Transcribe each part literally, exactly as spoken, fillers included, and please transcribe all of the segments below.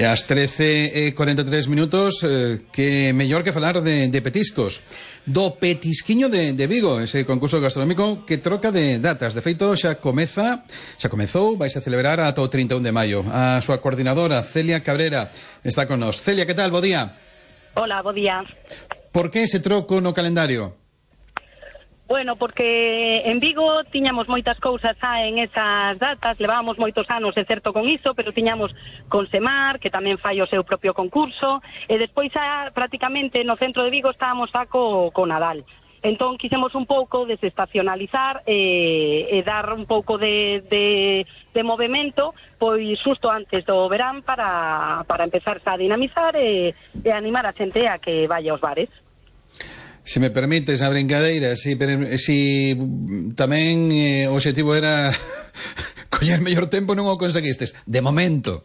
E ás trece e cuarenta e tres minutos, eh, que mellor que falar de, de petiscos. Do Petisquiño de, de Vigo, ese concurso gastronómico que troca de datas. De feito, xa comeza, xa comezou, vais a celebrar ata o trinta e un de maio. A súa coordinadora, Celia Cabrera, está con nós. Celia, que tal? Bo día. Hola, bo día. Por que ese troco no calendario? Bueno, porque en Vigo tiñamos moitas cousas xa en esas datas, levábamos moitos anos, é certo, con iso, pero tiñamos con Semar, que tamén fai o seu propio concurso, e despois xa prácticamente no centro de Vigo estábamos xa co, co Nadal. Entón quixemos un pouco desestacionalizar e, e dar un pouco de, de, de movimento, pois xusto antes do verán para, para empezar a dinamizar e, e animar a xente a que vaya aos bares. Se me permites a brincadeira, si, si tamén eh, o objetivo era coller mellor tempo, non o conseguistes, de momento.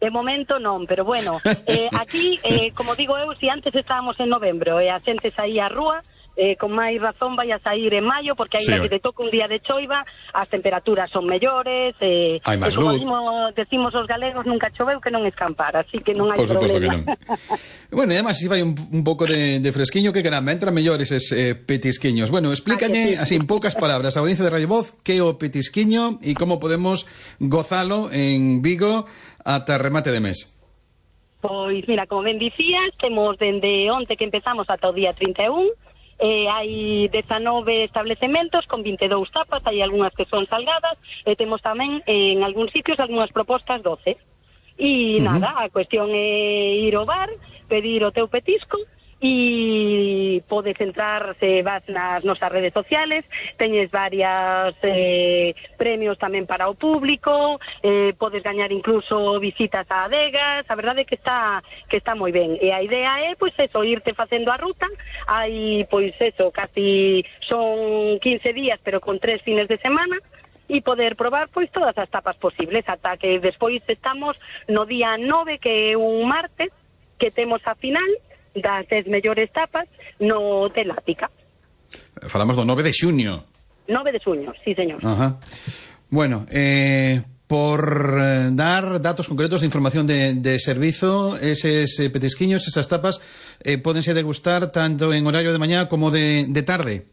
De momento non, pero bueno, eh, aquí, eh, como digo eu, si antes estábamos en novembro e a xente saía á rúa, eh, con máis razón vai a sair en maio, porque aí sí, que te toca un día de choiva, as temperaturas son mellores, eh, hai máis e como luz. Decimos, decimos os galegos, nunca choveu que non escampar, así que non hai Por suposto problema. que non. Bueno, e además, si vai un, un pouco de, de fresquiño, que caramba, entran mellores eses eh, petisquiños. Bueno, explícalle, así en poucas palabras, a audiencia de Radio Voz, que é o petisquiño e como podemos gozalo en Vigo ata remate de mes. Pois, mira, como ben dicías, temos dende onte que empezamos ata o día trinta e un, Eh, hai dezanove establecementos con vinte e dous tapas, hai algunhas que son salgadas e temos tamén eh, en algúns sitios algunhas propostas doce. E uh -huh. nada, a cuestión é ir ao bar, pedir o teu petisco e podes entrar, se vas nas nosas redes sociales, teñes varias eh, premios tamén para o público, eh, podes gañar incluso visitas a adegas, a verdade é que está que está moi ben, e a idea é, pois eso, irte facendo a ruta, hai, pois eso, casi son quince días, pero con tres fines de semana, e poder probar, pois, todas as tapas posibles, ata que despois estamos no día nove, que é un martes, que temos a final das dez mellores tapas no Telática. Falamos do nove de xuño. nove de xuño, sí, señor. Ajá. Bueno, eh, por eh, dar datos concretos de información de, de servizo, eses eh, petisquiños, esas tapas, eh, pódense degustar tanto en horario de mañá como de, de tarde.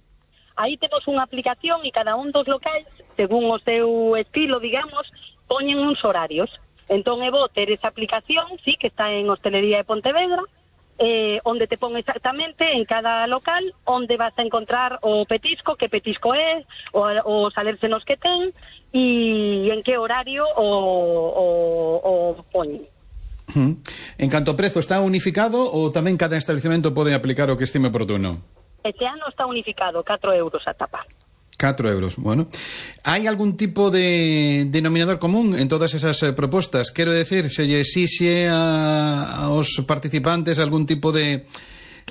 Aí temos unha aplicación e cada un dos locais, según o seu estilo, digamos, poñen uns horarios. Entón é bo ter esa aplicación, sí, que está en Hostelería de Pontevedra, Eh, onde te pon exactamente en cada local onde vas a encontrar o petisco, que petisco é, os alérgenos que ten e en que horario o, o, o poñen. Uh-huh. En canto ao prezo, está unificado ou tamén cada establecemento pode aplicar o que estime oportuno? Este ano está unificado, catro euros a tapa. catro euros, bueno. Hai algún tipo de denominador común en todas esas eh, propostas? Quero decir, se lle exixe a, aos participantes algún tipo de,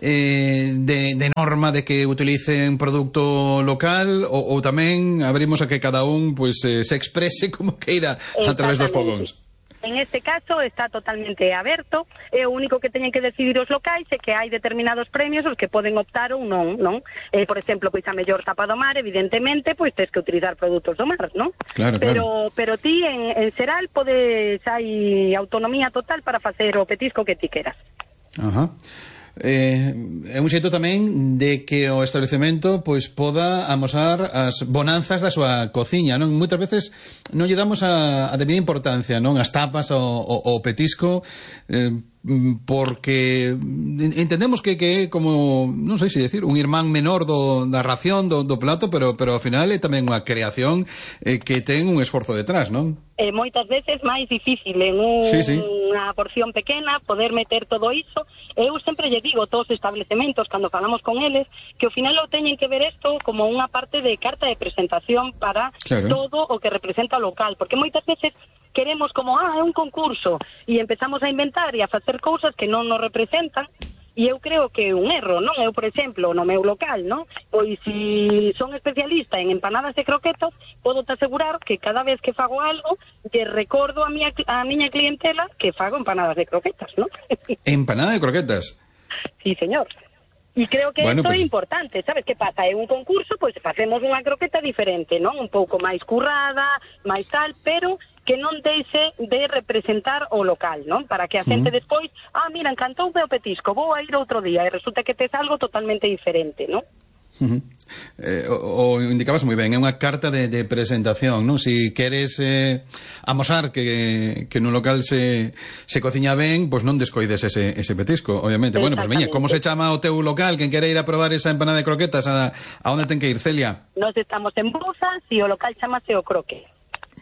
eh, de, de norma de que utilicen producto local ou, ou tamén abrimos a que cada un pues, eh, se exprese como queira a través dos fogóns? En este caso está totalmente aberto, e o único que teñen que decidir os locais é que hai determinados premios os que poden optar ou non, non? Eh, por exemplo, pois a mellor tapa do mar, evidentemente, pois tens que utilizar produtos do mar, non? Claro, pero, claro. Pero ti, en, en Seral, podes, hai autonomía total para facer o petisco que ti queras. Ajá. Eh, é un xeito tamén de que o establecemento pois poda amosar as bonanzas da súa cociña, non? Moitas veces non lle damos a, a debida importancia, non? As tapas, o, o, o petisco, eh, porque entendemos que que é como, non sei se decir, un irmán menor do, da ración do, do plato, pero pero ao final é tamén unha creación eh, que ten un esforzo detrás, non? Eh, moitas veces máis difícil en un, sí, sí. unha porción pequena poder meter todo iso. Eu sempre lle digo a todos os establecementos cando falamos con eles que ao final o teñen que ver isto como unha parte de carta de presentación para claro. Todo o que representa o local, porque moitas veces queremos como, ah, é un concurso e empezamos a inventar e a facer cousas que non nos representan. E eu creo que é un erro, non? Eu, por exemplo, no meu local, non? Pois se son especialista en empanadas de croquetas, podo te asegurar que cada vez que fago algo, lle recordo a miña, a miña clientela que fago empanadas de croquetas, non? ¿Empanada de croquetas? Sí, señor. E creo que bueno, isto pues... é importante, sabes que pasa? É un concurso, pois facemos unha croqueta diferente, non? Un pouco máis currada, máis tal, pero que non deixe de representar o local, non? Para que a xente Uh-huh. despois, ah, mira, encantoume o petisco, vou a ir outro día, e resulta que tes algo totalmente diferente, non? Uh-huh. Eh, o, o indicabas moi ben, é unha carta de, de presentación, non? Si queres eh, amosar que, que nun local se, se cociña ben, pois non descoides ese, ese petisco, obviamente. Bueno, pois veña, como se chama o teu local? Quen quere ir a probar esa empanada de croquetas, a, a onde ten que ir, Celia? Nos estamos en Bouzas e o local chamase o Croque.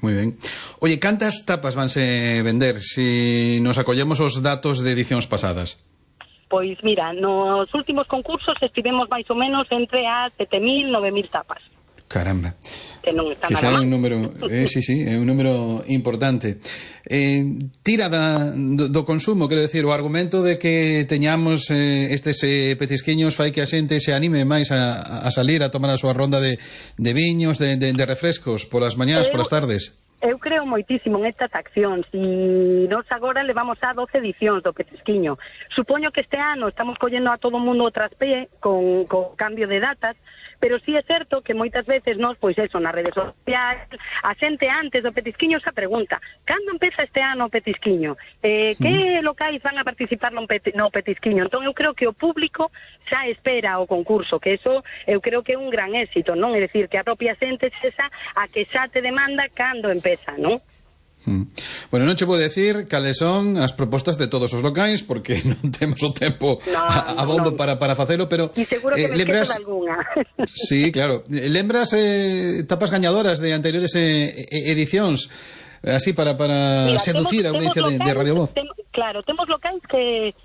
Moi ben. Oye, cantas tapas vanse vender si nos acollemos os datos de edicións pasadas? Pois mira, nos últimos concursos estivemos máis ou menos entre as sete mil, nove mil tapas. Caramba. Que non está Que nada xa é mal. un número, eh, sí, sí, é un número importante. Eh, tira da, do, do consumo, quero decir, o argumento de que teñamos eh, estes eh, petisquiños fai que a xente se anime máis a, a salir a tomar a súa ronda de, de viños, de, de, de refrescos, polas mañás, Eu- polas tardes. Eu creo moitísimo en estas accións e nos agora levamos a doce edicións do petisquiño. Supoño que este ano estamos collendo a todo o mundo o traspé con, con cambio de datas, pero sí é certo que moitas veces nos, pois eso, nas redes sociais, a xente antes do petisquiño xa pregunta, cando empeza este ano o petisquiño? Eh, que locais van a participar no, peti, no petisquiño? Entón eu creo que o público xa espera o concurso, que eso eu creo que é un gran éxito, non? É dicir, que a propia xente xa a que xa te demanda cando empeza. ¿No? Mm. Bueno, non che vou decir cales son as propostas de todos os locais porque non temos o tempo no, a, a bondo no. para, para facelo, pero e seguro que eh, me lembras... esquezo de alguna. Sí, claro. Lembras eh, tapas gañadoras de anteriores eh, edicións así para, para Mira, seducir temos, a audiencia de, de Radio Voz? Tem, claro, temos locais que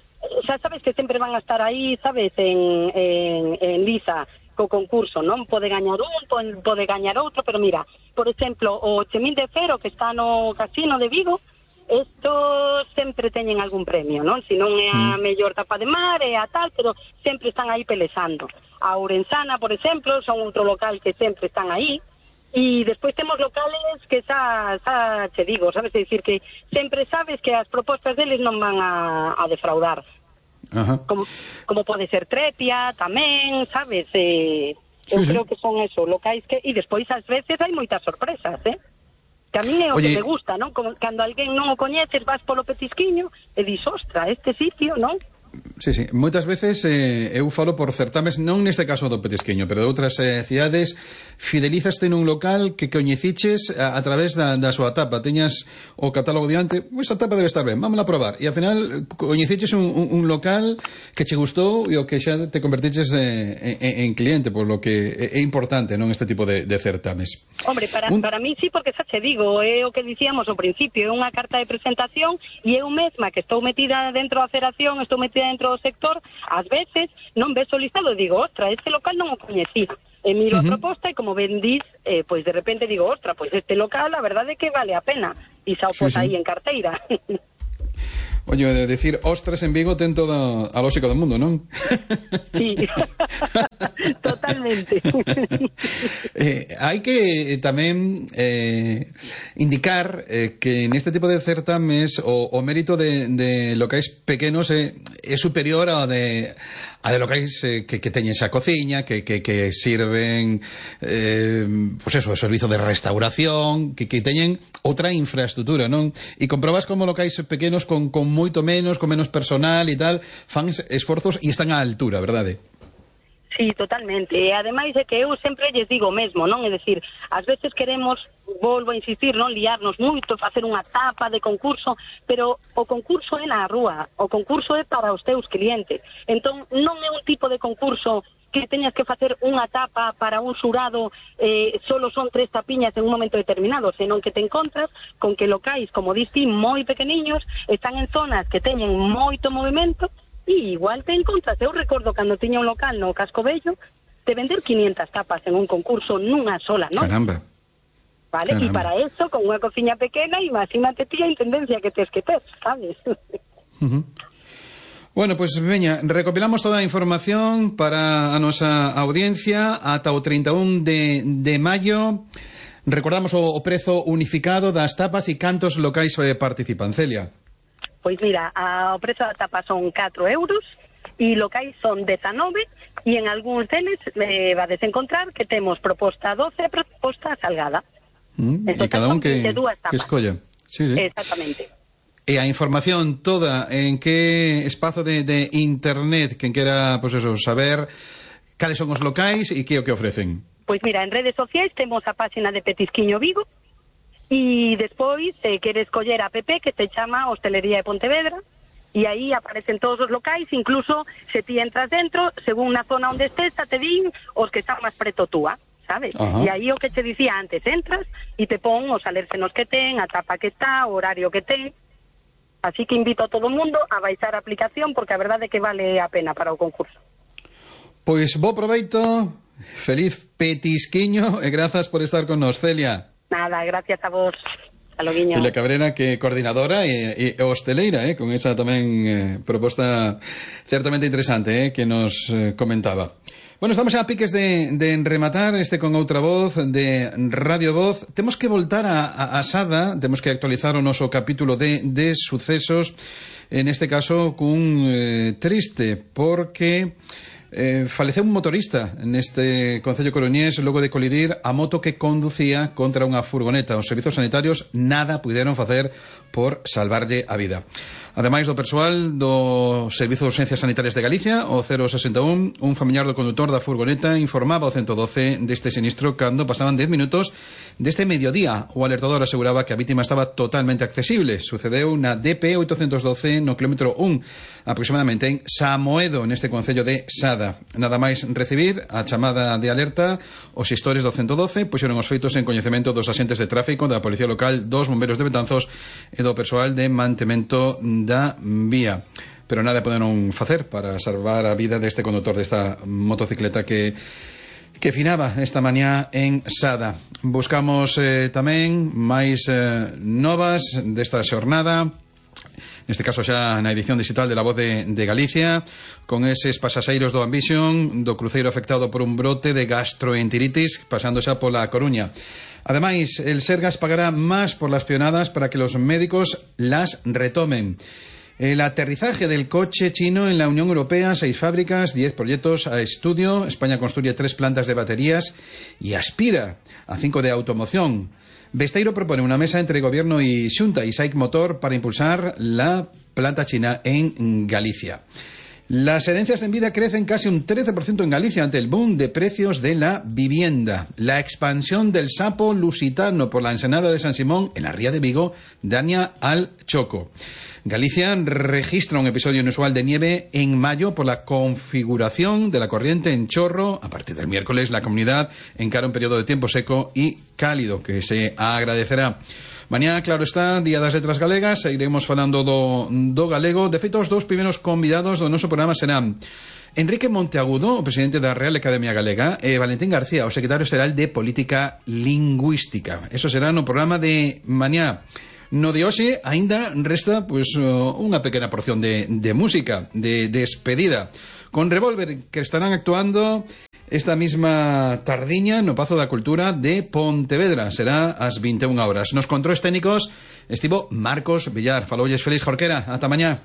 xa sabes que sempre van a estar aí, sabes, en, en, en liza co concurso, non? Pode gañar un, pode gañar outro, pero mira, por exemplo, o Chemín de Fero, que está no Casino de Vigo, estos sempre teñen algún premio, non? Si non é a mellor tapa de mar, é a tal, pero sempre están aí pelexando. A Ourensana, por exemplo, son outro local que sempre están aí, e despois temos locales que xa, xa che digo, sabes, é dicir que sempre sabes que as propostas deles non van a, a defraudar. Ajá. Como, como pode ser Trepia tamén, sabes, eh, Sí, eu sí. creo que son eso, locais que e despois ás veces hai moitas sorpresas, eh? Que a mí é o Oye, que me gusta, non? Como cando alguén non o coñeces, vas polo petisquiño e dis, ostra, este sitio, non? Sí, sí. Moitas veces eh, eu falo por certames, non neste caso do petisquiño, pero de outras eh, cidades, fidelizaste nun local que coñeciches a, a través da, da súa tapa. Teñas o catálogo diante, esa tapa debe estar ben, vámola a probar. E ao final coñeciches un, un, un local que che gustou e o que xa te convertiches eh, en, en cliente, por lo que é importante, non, este tipo de, de certames. Hombre, para, Un... para mí sí, porque xa che digo, é o que dicíamos ao principio, é unha carta de presentación e eu mesma que estou metida dentro da federación, estou metida dentro do sector, ás veces non ves o listado e digo, ostra, este local non o coñecí. E miro uh -huh. a proposta e como ben dis, eh, pois de repente digo, ostra, pois este local a verdade é que vale a pena. E xa o pos sí, aí sí. en carteira. Oye, de decir ostras en Vigo ten toda a lógica do mundo, non? Sí, totalmente. eh, hai que tamén eh, indicar eh, que neste tipo de certames o, o mérito de, de locais pequenos é, é superior ao de a de locais eh, que, que teñen esa cociña, que, que, que sirven eh, pues eso, o servizo de restauración, que, que teñen outra infraestructura, non? E comprobas como locais pequenos con, con moito menos, con menos personal e tal, fan esforzos e están á altura, verdade? Sí, totalmente. E ademais é que eu sempre lles digo o mesmo, non? É dicir, ás veces queremos, volvo a insistir, non liarnos moito, facer unha tapa de concurso, pero o concurso é na rúa, o concurso é para os teus clientes. Entón, non é un tipo de concurso que teñas que facer unha tapa para un xurado, eh, solo son tres tapiñas en un momento determinado, senón que te encontras con que locais, como diste, moi pequeniños, están en zonas que teñen moito movimento, e igual te encontras. Eu recordo cando tiña un local no Casco Bello, de vender quinientas tapas en un concurso nunha sola, non? Caramba. Vale, e para eso, con unha cociña pequena, imagínate ti a intendencia que tes que ter, sabes? Uh-huh. Bueno, pois pues, veña, recopilamos toda a información para a nosa audiencia ata o trinta e un de, de maio. Recordamos o, o prezo unificado das tapas e cantos locais eh, participan, Celia. Pois mira, a, o prezo da tapa son catro euros e locais son dezanove e en algúns deles eh, vades encontrar que temos proposta doce e proposta salgada. Mm, e cada un que, que escolla. Sí, sí. Exactamente. E a información toda en que espazo de, de internet quen quera, pois pues eso, saber cales son os locais e que o que ofrecen. Pois mira, en redes sociais temos a página de Petisquiño Vigo e despois se eh, queres coller a app que se chama Hostelería de Pontevedra e aí aparecen todos os locais, incluso se ti entras dentro, según na zona onde estés, te din os que están máis preto túa, sabes? Ajá. E aí o que te dicía antes, entras e te pon os alérgenos que ten, a tapa que está, o horario que ten. Así que invito a todo o mundo a baixar a aplicación porque a verdade é que vale a pena para o concurso. Pois bo proveito, feliz petisquiño e grazas por estar con nos, Celia. Nada, gracias a vos. Celia Cabrera, que coordinadora e, e hosteleira, eh, con esa tamén eh, proposta certamente interesante eh, que nos eh, comentaba. Bueno, estamos a piques de, de rematar este con outra voz de Radio Voz. Temos que voltar a, a, a Sada, temos que actualizar o noso capítulo de, de sucesos, en este caso cun eh, triste, porque Eh, faleceu un motorista neste concello coruñés logo de colidir a moto que conducía contra unha furgoneta. Os servizos sanitarios nada puderon facer por salvarlle a vida. Ademais do persoal do Servizo de Urxencias Sanitarias de Galicia, o cero sesenta e un, un familiar do condutor da furgoneta informaba ao ciento doce deste sinistro cando pasaban dez minutos deste mediodía. O alertador aseguraba que a vítima estaba totalmente accesible. Sucedeu na D P oitocentos doce no kilómetro un, aproximadamente en Samoedo, neste concello de Sada. Nada máis recibir a chamada de alerta, os xestores do ciento doce puxeron os feitos en coñecemento dos axentes de tráfico, da Policía Local, dos bombeiros de Betanzos e do persoal de mantemento da vía. Pero nada poderon facer para salvar a vida deste condutor desta motocicleta que que finaba esta mañá en Sada. Buscamos eh, tamén máis eh, novas desta xornada, neste caso xa na edición digital de La Voz de, de Galicia, con eses pasaxeiros do Ambition, do cruceiro afectado por un brote de gastroenteritis, pasando xa pola Coruña. Ademais, el Sergas pagará más por las pionadas para que los médicos las retomen. El aterrizaje del coche chino en la Unión Europea, seis fábricas, diez proyectos a estudio. España construye tres plantas de baterías y aspira a cinco de automoción. Besteiro propone una mesa entre Gobierno y Xunta y SAIC Motor para impulsar la planta china en Galicia. Las herencias en vida crecen casi un trece por ciento en Galicia ante el boom de precios de la vivienda. La expansión del sapo lusitano por la ensenada de San Simón en la ría de Vigo daña al Choco. Galicia registra un episodio inusual de nieve en mayo por la configuración de la corriente en chorro. A partir del miércoles la comunidad encara un periodo de tiempo seco y cálido que se agradecerá. Mañá, claro está, Día das Letras Galegas, seguiremos falando do, do galego. De feito, os dous primeiros convidados do noso programa serán Enrique Monteagudo, o presidente da Real Academia Galega, e Valentín García, o secretario xeral de Política Lingüística. Eso será no programa de mañá. No de hoxe, aínda resta pues, unha pequena porción de, de música, de despedida, con Revolver, que estarán actuando esta misma tardiña no Pazo da Cultura de Pontevedra. Será ás vinte e unha horas. Nos controles técnicos estivo Marcos Villar. Faloulles Félix Jorquera. Ata mañá.